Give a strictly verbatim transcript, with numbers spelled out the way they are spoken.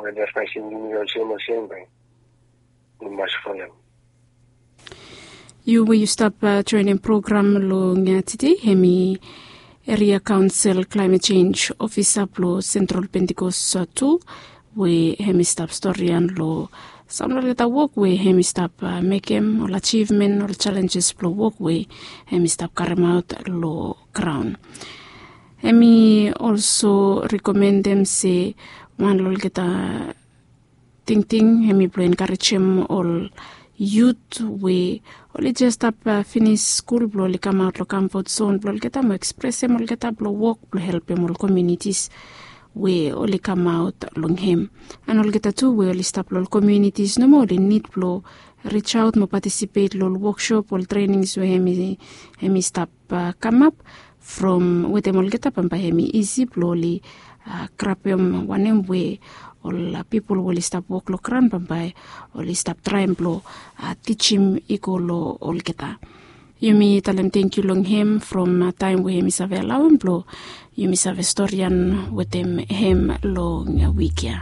Wen advaes yumi olsem olsem bae yu mas folem. Yu we yu stap joenem program long tide, hemi eria kaonsel klaemet jenj ofisa blong Sentral Pentikos tu, we hemi stap storian long sam long olgeta wok we hemi stap mekem, ol ajivmen, ol jalenjes blong wok we hemi stap karemaot long graon. Hemi olso rekomendem se wan long olgeta tingting hemi blong enkarejem ol yut we oli jes stap finis skul blong oli kamaot long kamfot zon blong olgeta mo ekspresem olgeta blong wok blong helpem ol komiunitis we oli kamaot long hem. An olgeta tu we oli stap long ol komiunitis nomo oli nid blong rijaot mo patisipet long ol woksop, ol trenings we hemi stap kamap from wetem olgeta, bambae hemi isi blong oli grabem wanem we ol pipol we oli stap wok long graon bambae oli stap traem blong tijim i go long olgeta. Yumi talem tangkiu long hem from taem we hemi save alaoem blong yumi save storian wetem hem long wik ya.